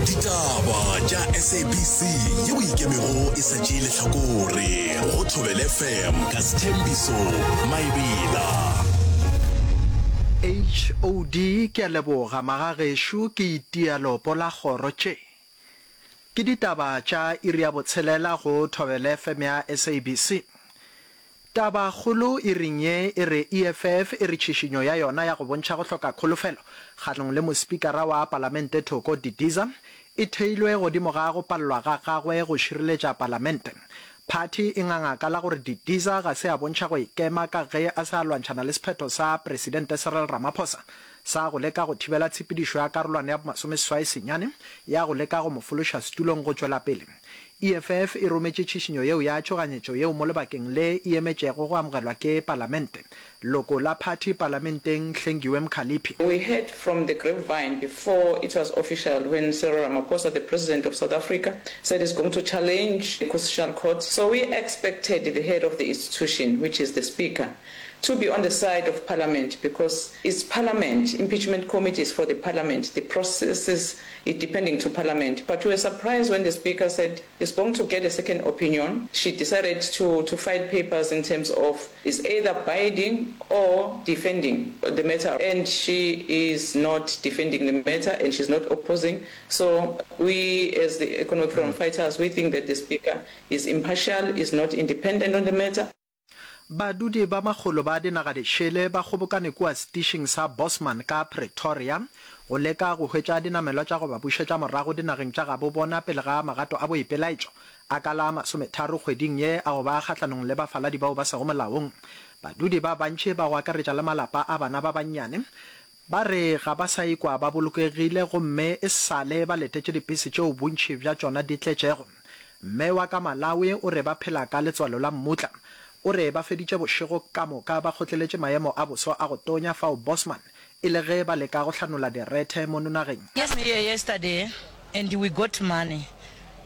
Ditaba tša SABC yeo e ikemego e sa tšee lehlakore go Thobela FM ka Sthembiso Maebela. HOD, Ke a leboga magagešo ke itia leopo la kgoro tše. Ke ditaba tša iri ya botshelela go Thobela FM ya SABC. Tabakgolo iring ye e re EFF e re tšhišinyo ya yona ya go bontšha go hloka kholofelo kgahlanong le mospikara wa palamente Thoko Didiza e theilwe godimo ga go palelwa ga gagwe go šireletša palamente. Phathi e nganga ka la gore Didiza ga se a bontšha go ikema ka ge a se a lwantšhana le sephetho sa Presidente Cyril Ramaphosa sa go leka go thibela tshepedišo ya karolwana ya bomasomeseswai senyane ya go leka go mo fološa setulong go tšwela pele. EFF e rometše tšhišinyo yeo ya tšhoganyetšo yeo mo lebakeng le e emetšego go amogelwa ke Palamente. Loko la phathi Palamenteng Hlengiwe Mkhaliphi. We heard from the grapevine before it was official when Cyril Ramaphosa, the president of South Africa, said he's going to challenge the Constitutional Court. So we expected the head of the institution, which is the Speaker, to be on the side of Parliament because it's Parliament, impeachment committee is for the Parliament, the processes it depending to Parliament. But we were surprised when the Speaker said he's going to get a second opinion. She decided to, to file papers in terms of is either binding or defending the matter. And she is not defending the matter and she's not opposing. So we as the Economic Freedom Fighters, we think that the Speaker is impartial, is not independent on the matter. Badudi ba makgolo ba dinagadišele ba kgobokane kua setišing sa Bosman ka Pretoria go leka go hwetša dinamelwa tša go ba bušetša morago dinageng tša gabo bona pele ga magato a boipelaetšo a ka la masometharo kgweding ye a go ba kgahlanong le bafaladi bao ba sego molaong. Badudi ba bantši ba go akaretša le malapa a bana ba bannyane Ba re ga ba sa ikwa ba bolokegile gomme e sa le ba letetše dipese tšeo bontši bja tšona di tletšego. Mme wa ka Malawi o re ba phela ka letswalo la mmutla. O re ba feditše bošego ka moka ba kgotleletše maemo a boso a go tonya fao Bosman e le ge ba leka go hlanola direthe mono nageng. Came here yesterday and we got money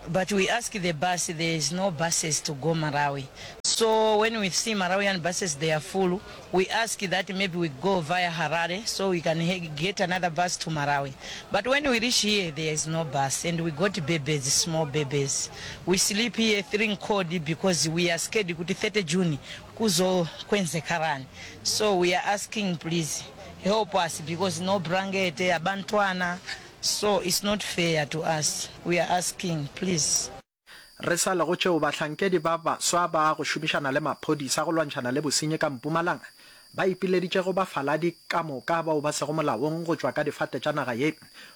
but we ask the bus there is no buses to go Malawi so when we see Malawian buses they are full we ask that maybe we go via Harare so we can get another bus to Malawi but when we reach here there is no bus and we got babies small babies we sleep here three cold because we are scared kuti 30 June kuzo kwenzekalani so we are asking please help us because no blanket abantwana so it's not fair to us we are asking please. Re sa le go tšeo, bahlankedi ba baswa ba go šomišana le maphodisa go lwantšhana le bosenyi ka Mpumalanga ba ipileditše go bafaladi ka moka bao ba sego molaong go tšwa ka difate tša naga ye.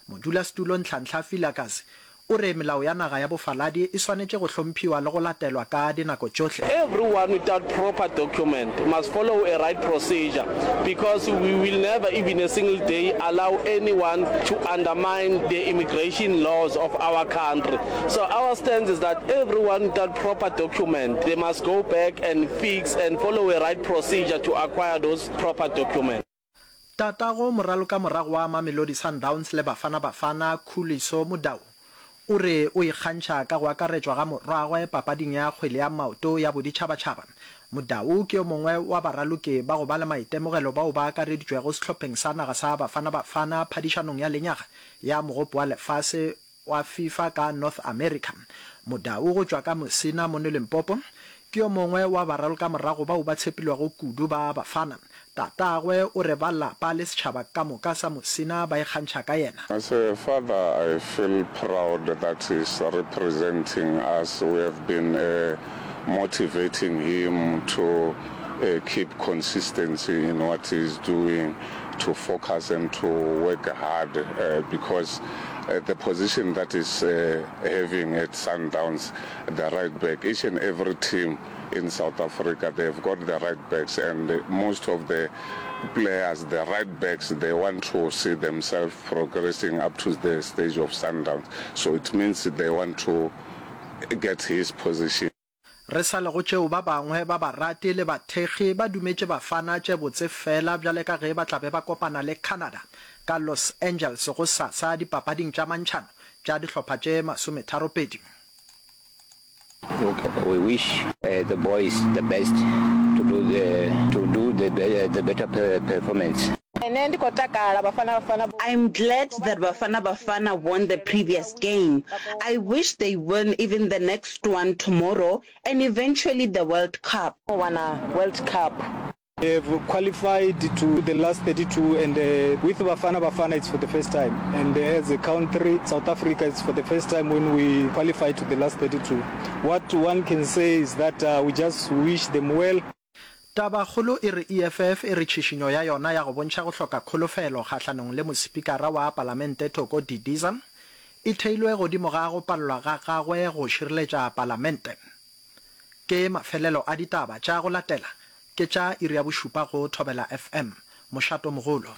Modulasetulo Nhlanhla Vilakazi o re melao ya naga ya bofaladi e swanetše go hlomphiwa le go latelwa ka dinako tšohle. Everyone without proper document must follow a right procedure because we will never even a single day allow anyone to undermine the immigration laws of our country. So our stance is that everyone without proper document, they must go back and fix and follow a right procedure to acquire those proper documents. Tatago moralokamorago wa Mamelodi Sundowns le Bafana Bafana, Khuliso Mudau, o re o ikgantšha ka go akaretšwa ga morwagwe papading ya kgwele ya maoto ya boditšhabatšhaba. Mudau ke yo mongwe wa baraloki ba go ba le maitemogelo bao ba akareditšwego sehlopheng sa naga sa Bafana Bafana phadišanong ya lenyaga ya Mogopo wa Lefase wa FIFA ka North America. Mudau go tšwa ka Musina mono Limpopo ke yo mongwe wa baralokamorago bao ba tshepilwego kudu ba Bafana. Tatagwe o re ba lapa le setšhaba ka moka sa Musina ba ikgantšha ka yena. As a father I feel proud that he's representing us, we have been motivating him to keep consistency in what he is doing, to focus and to work hard because the position that he's having at Sundowns, the right back, each and every team in South Africa, they've got the right backs and most of the players, the right backs, they want to see themselves progressing up to the stage of Sundowns. So it means they want to get his position. Re sa le go tšeo ba bangwe ba barati le bathekgi ba dumetše Bafana tše botse fela bjale ka ge ba tla be ba kopana le Canada ka Los Angeles gosasa dipapading tša mantšhano tša dihlopha tše masometharopedi. We wish the boys the best to do the to do the the better performance. Nṋe ndi khou takala Bafana Bafana. I'm glad that Bafana Bafana won the previous game. I wish they win even the next one tomorrow and eventually the World Cup. U wana World Cup. They have qualified to the last 32 and with Bafana Bafana it's for the first time and as a country South Africa it's for the first time when we qualify to the last 32. What one can say is that we just wish them well. Tabakgolo e re EFF e re tšhišinyo ya yona ya go bontšha go hloka kholofelo kgahlanong le Mosepikara wa Palamente Thoko Didiza e theilwe godimo ga go palelwa ga gagwe go šireletša Palamente. Ke mafelelo a ditaba tša go latela ke tša iri ya bošupa go Thobela FM, mošatomogolo.